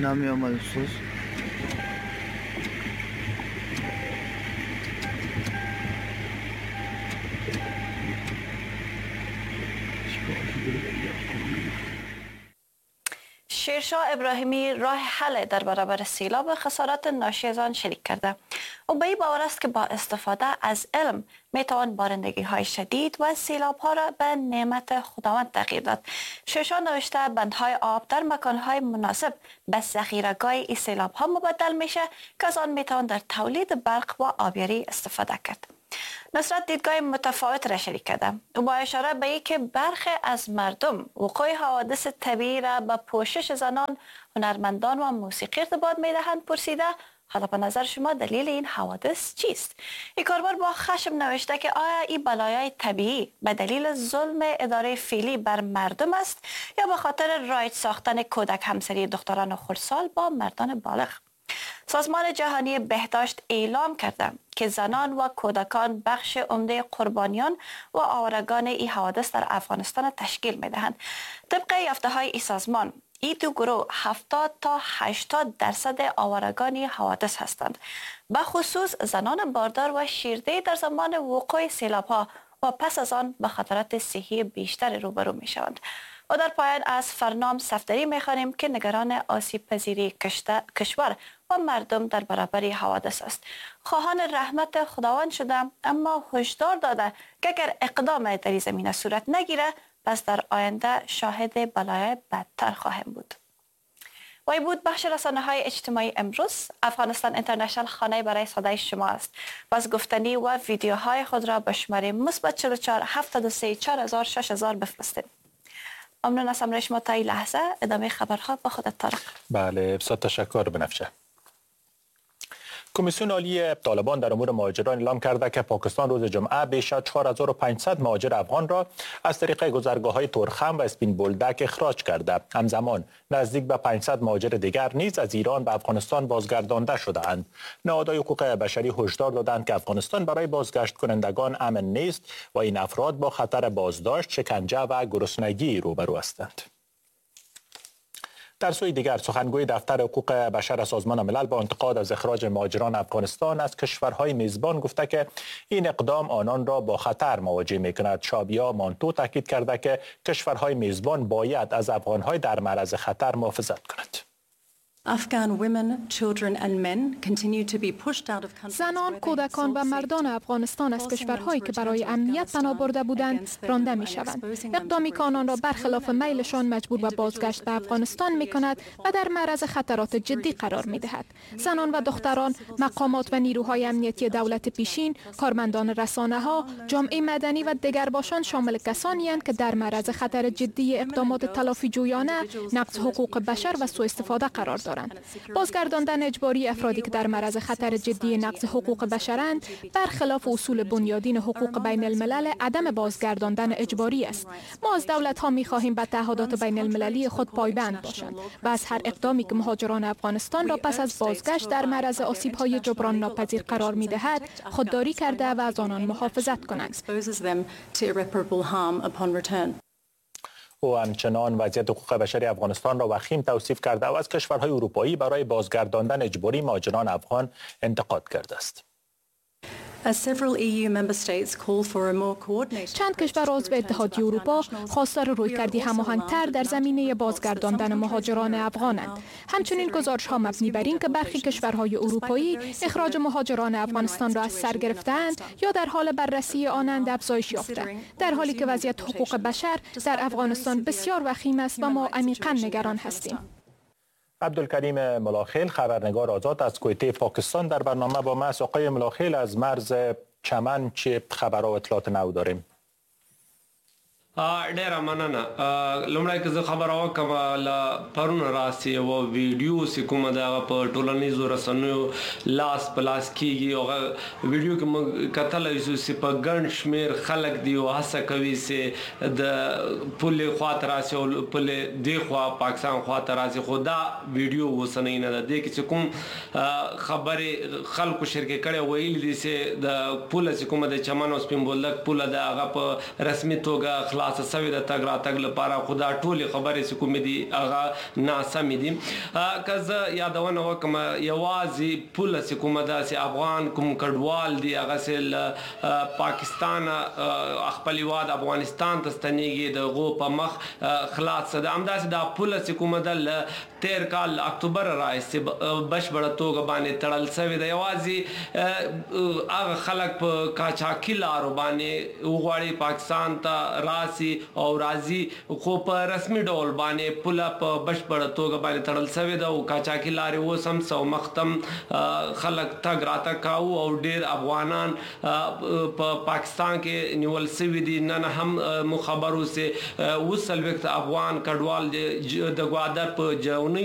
نمی آمد استاد. شیرشاه ابراهیمی راه حل در برابر سیلاب و خسارات ناشی از آن شریک کرده. او به این باور است که با استفاده از علم میتوان بارندگی های شدید و سیلاب ها را به نعمت خداوند تغییر داد. شیرشاه نوشته بندهای آب در مکان های مناسب به ذخیره‌گاه این سیلاب ها مبدل میشه که از آن میتوان در تولید برق و آبیاری استفاده کرد. نصرت دیدگاه متفاوت را شریک کرده. او با اشاره به اینکه برخی از مردم وقوع حوادث طبیعی را به پوشش زنان، هنرمندان و موسیقی ارتباط میدهند پرسیده حالا به نظر شما دلیل این حوادث چیست؟ این کاربر با خشم نوشته که آیا این بلایای طبیعی به دلیل ظلم اداره فعلی بر مردم است یا به خاطر رایج ساختن کودک همسری دختران خردسال با مردان بالغ؟ سازمان جهانی بهداشت اعلام کرده که زنان و کودکان بخش عمده قربانیان و آوارگان این حوادث در افغانستان تشکیل می‌دهند. طبق یافته‌های این سازمان، این دو گروه 70 تا 80% آوارگان این حوادث هستند. به خصوص زنان باردار و شیرده در زمان وقوع سیلاب‌ها و پس از آن به خطرات صحی بیشتر روبرو می‌شوند. و در پایان از فرنام صفدری می‌خوانیم که نگران آسیب پذیری کشور و مردم در برابر حوادث است. خواهان رحمت خداوند شده اما هشدار داده که اگر اقدام در این زمینه صورت نگیره پس در آینده شاهد بلایای بدتر خواهیم بود. و این بود بخش رسانه های اجتماعی امروز. افغانستان اینترنشنال خانه برای صدای شما است. پس گفتنی و ویدیوهای خود را به شماره +44 73 4000 6000 بفرستید. ممنون از همراهی شما تا این لحظه. ادامه خبرها با خودت طارق. بله، بسیار تشکر بنفشه. کمیسیون عالی طالبان در امور مهاجران اعلام کرده که پاکستان روز جمعه بیش از 4500 مهاجر افغان را از طریق گذرگاه‌های تورخم و اسپین بولدک اخراج کرده. همزمان نزدیک به 500 مهاجر دیگر نیز از ایران به افغانستان بازگردانده شده‌اند. نهادهای حقوق بشری هشدار دادند که افغانستان برای بازگشت کنندگان امن نیست و این افراد با خطر بازداشت، شکنجه و گرسنگی روبرو هستند. در سوی دیگر، سخنگوی دفتر حقوق بشر سازمان ملل با انتقاد از اخراج مهاجران افغانستان از کشورهای میزبان گفته که این اقدام آنان را با خطر مواجه می‌کند. شابیا مانتو تاکید کرده که کشورهای میزبان باید از افغانهای در معرض خطر محافظت کند. زنان، کودکان و مردان افغانستان از کشورهایی که برای امنیت پناه برده بودند رانده می شوند. اقدامی که آنان را برخلاف میلشان مجبور به بازگشت به افغانستان می کند و در معرض خطرات جدی قرار می دهد. زنان و دختران، مقامات و نیروهای امنیتی دولت پیشین، کارمندان رسانه ها، جامعه مدنی و دگرباشان شامل کسانی هستند که در معرض خطر جدی اقدامات تلافی جویانه، نقض حقوق بشر و سوء استفاده قرار دارند. بازگرداندن اجباری افرادی که در معرض خطر جدی نقض حقوق بشرند برخلاف اصول بنیادین حقوق بین الملل عدم بازگرداندن اجباری است. ما از دولت ها می خواهیم به تعهدات بین المللی خود پایبند باشند و از هر اقدامی که مهاجران افغانستان را پس از بازگشت در معرض آسیب های جبران ناپذیر قرار می دهد خودداری کرده و از آنان محافظت کنند. او همچنان وضعیت حقوق بشری افغانستان را وخیم توصیف کرده و از کشورهای اروپایی برای بازگرداندن اجباری مهاجران افغان انتقاد کرده است. چند کشور عضو اتحادیه اروپا خواستار رویکردی هماهنگتر در زمینه بازگرداندن مهاجران افغانند. همچنین گزارش‌ها مبنی بر این که برخی کشورهای اروپایی اخراج مهاجران افغانستان را از سر گرفته‌اند یا در حال بررسی آنند افزایش یافته، در حالی که وضعیت حقوق بشر در افغانستان بسیار وخیم است و ما عمیقاً نگران هستیم. عبدالکریم ملاخیل، خبرنگار آزاد از کویته پاکستان در برنامه با ما است. آقای ملاخیل، از مرز چمن چه خبر و اطلاعات نو داریم؟ ډیره مننه. لومړی که زه خبره وکړم، له پرون راهیسې یوه ویډیو چې کومه ده هغه په ټولنیزو رسنیو لاس په لاس کېږي. هغه ویډیو کې موږ کتلی شو چې په ګڼ شمېر خلک دي او هڅه کوي چې د پولې خوا ته راسي او پولې دې خوا پاکستان خوا ته راسي، خو دا ویډیو اوسنۍ نه ده. دې کې چې کوم خبرې خلکو شریکې کړې، ویلي دي چې د پوله چې کومه د چمن او سپین بولدک پوله ده هغه په رسمي توګه خلاصه شوې ده تګ راتګ لپاره، خو دا ټولې خبرې چې کومې دي هغه ناسمې دي. که زه یادونه وکړم، یوازې پوله چې کومه ده چې افغان کوم کډوال دي هغه چې له پاکستانه خپل هیواد افغانستان ته ستنیږي د هغو په مخ خلاصه ده. همداسې دا پوله چې کومه ده له تیر کال له اکتوبر راهیسې بشپړه توګه باندې تړل شوې ده. یوازې هغه خلک په قاچاقي لارو باندې وغواړي پاکستان ته راسي او راځي، خو په رسمي ډول باندې پوله په بشپړه توګه باندې تړل شوې ده او قاچاقي لارې اوس هم څه مخ ته خلک تګ راتګ کاوه او ډیر افغانان په پاکستان کې نیول شوي دي. نن هم مو خبر اوسې 47 افغان کډوال د ګوادر په